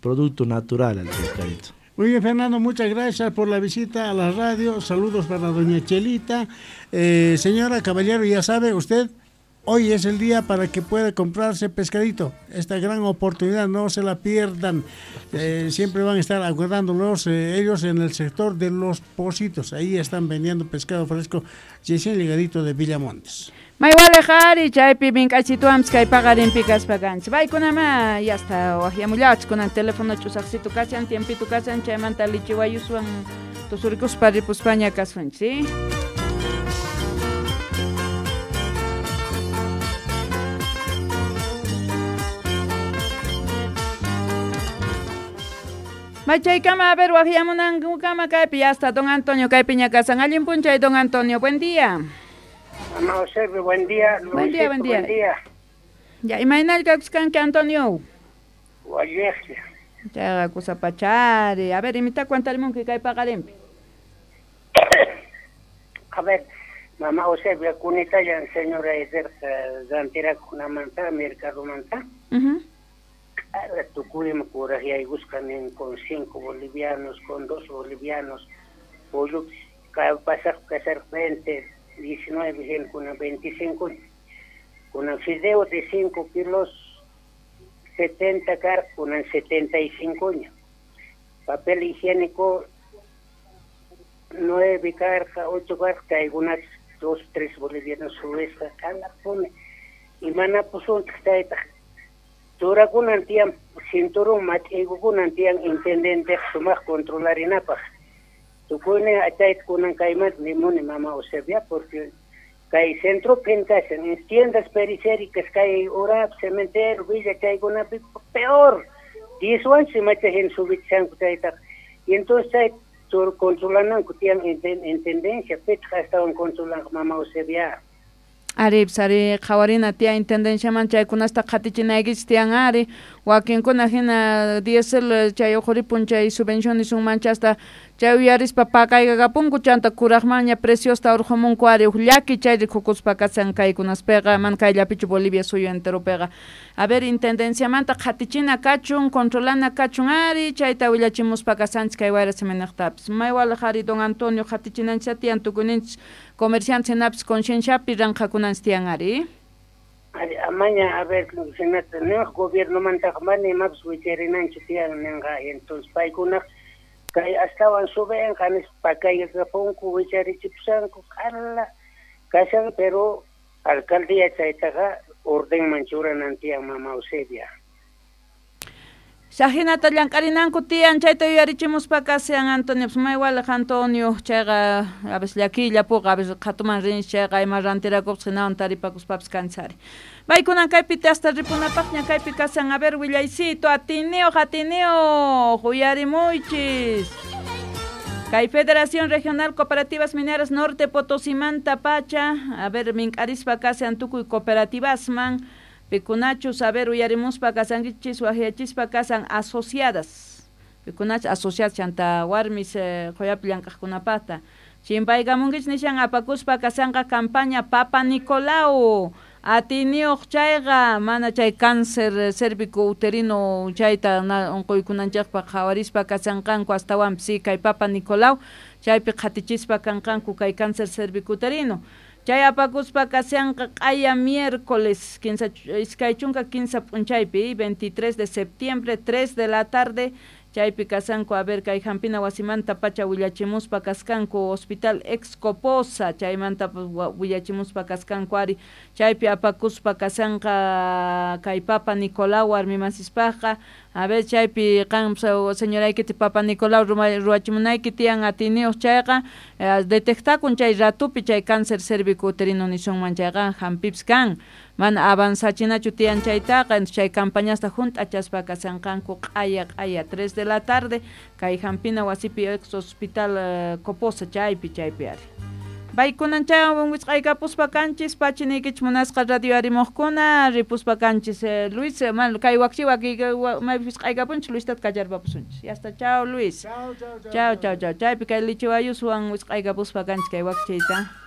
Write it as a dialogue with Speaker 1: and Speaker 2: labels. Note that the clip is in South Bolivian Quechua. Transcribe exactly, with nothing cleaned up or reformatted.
Speaker 1: producto natural al pescadito.
Speaker 2: Muy bien, Fernando, muchas gracias por la visita a la radio. Saludos para doña Chelita. Eh, señora, caballero, ya sabe usted, hoy es el día para que pueda comprarse pescadito. Esta gran oportunidad, no se la pierdan. Eh, siempre van a estar aguardándolos eh, ellos en el sector de Los Pocitos. Ahí están vendiendo pescado fresco recién llegadito de Villamontes.
Speaker 3: Maywalejari chaypi mink'achituampis kay paqarinpi kaspa kanchis. Paykunama yasta waqyamullawchis kunan teléfono ch'usaqsitu kashan, tiempito kashan, chaymanta lichiwayuswan tusurikuspa ripuspaña kasunchis, ¿sí? Machaykama, a ver, waqyamunankukama kaypi yasta don Antonio kaypiña kasan. Allin p'unchay, don Antonio, buen día.
Speaker 4: Mamá Eusebio, buen día. Luisito,
Speaker 3: buen día, buen día.
Speaker 4: Buen día.
Speaker 3: Ya, imaynallkakus kanki, Antonio?
Speaker 4: Walleqlla.
Speaker 3: Chayqa kusapachari. A ver, imita cuentarimunki kay paqarinpi.
Speaker 4: A ver, mamá Eusebio, kunitayan señora Ederqa rantirakunamanta, mercadomanta.
Speaker 3: Uh-huh.
Speaker 4: Ahora tukuyma kuraqyaykusqanin con cinco bolivianos, con dos bolivianos, pollo pasaq kasar veinte, diecinueve, con veinticinco, con el fideo de cinco kilos, setenta car, con el setenta y cinco, papel higiénico, nueve carja, ocho carja, algunas dos, tres bolivianos subesca, cada pone, y manapusun, turakunan tiyan, cinturón mat'iykukunan tiyan, intendente sumaq controlarinapaq. Tukuynin achayta kunan kaymanta nimuni mama Eusebia, porque kay centro pintashan, en tiendas periféricas, kay Urap, cementerio, Villa, chaykunapi peor, diezwansi machahin subichanku chaytaqa. Y entonces chay controlananku tiyan intendencia, pitaq astawan controlanqa mama Eusebia.
Speaker 3: Ari, ari, qhawarina tiyan intendenciaman chaykunasta qhatichinaykichis tiyan ari, wakinkuna hina diésel chay uquripun chay subvenciones unmanchasta chay uyarispa pakaykakapunku chanta kuraqmanña preciosta urqumunku ari uj llaki chay rikukuspa kasan kaykunaspiqa man kayllapichu Bolivia suyu enteropiqa. A ver, intendenciamanta qhatichina kachun, controlana kachun ari, chayta willachimuspa kasanchis kay wayra siminaqtapis. Maywalaq ari don Antonio qhatichinanchis tiyan tukuninchis comerciantes hinapis concienciapi ranqakunanchis tiyan ari.
Speaker 4: Ari, amaña, a ver, senata, ninqa gobiernomantaqa mana imapis wicharinanchis tiyan ninqa, entonces paykunaq kay astawan subenqa nispa pakaykakapunku wicharichipusanku q'ala kashan, pero alcaldía chaytaqa ordenman churanan tiyan mama Eusebia.
Speaker 3: Sahinata llank'arinanku tiyan chayta yuyarichimuspa kasan Antonio, pues maywalaq Antonio chayqa a veces llakiyllapuqa, a veces qhatuman rinchis chayqa ima rantirakupas hinawan taripakuspapis kanchari. Paykunan kaypi hasta ripunapaqña kaypi kasan, a ver willaycito, atiniyuq atiniyuq uyarimuychis. Kay Federación Regional Cooperativas Mineras Norte Potosimanta pacha, a ver mink'arispa kasan tukuy cooperativasman pikunachus, a ver uyarimuspa kasankichis waqyachispa kasan asociadas, pikunachus asociadas chanta warmis qoyapi llank'aqkunapaqta chimpaykamunkichis nishan apakuspa kasanqa campaña Papa Nicolau atiniyuq chayqa mana chay cáncer cérvico uterino chayta unquykunanchikpaq qhawarispa kasanqanku astawanpis si kay Papa Nicolau chaypi qhatichispa kanqanku kay cáncer cérvico uterino. Chay apakuspa kasanqa q'aya miércoles quince iskay chunka quince p'unchaypi veintitrés de septiembre tres de la tarde chaypi kasanku a ver kay hampina wasimanta pacha willachimuspa kaskanku hospital Excoposa chaymanta willachimuspa kaskanku ari chaypi apakuspa kasanqa kay Papa Nicolau warmimasispaqqa a ver chaypi qan señoraykiti Papa Nicolau ruwachimunayki tiyan atiniyuq chayqa detectakun chay ratupi chay cáncer cérvico uterino nisunman chayqa hampipis kan mana avanzachinachu tiyan chaytaqa chay campañasta hunt'achaspa kasanqanku q'aya q'aya tres de la tarde kay hampina wasipi ex hospital Coposa chaypi chaypi ari. Paykunan chaywan wisq'aykapuspa kanchis pachiniykichis munasqa radio arimuqkuna ripuspa kanchis eh, Luis man kay wakchi waki maypi wisq'aykapunchis Luistata kacharpapusunchis. Ya está, chao Luis.
Speaker 2: Chao, chao,
Speaker 3: chao. Chao, chao, chao. Chaypi kay lichiwayuswan wisq'aykapuspa kanchis kay wakchiyta.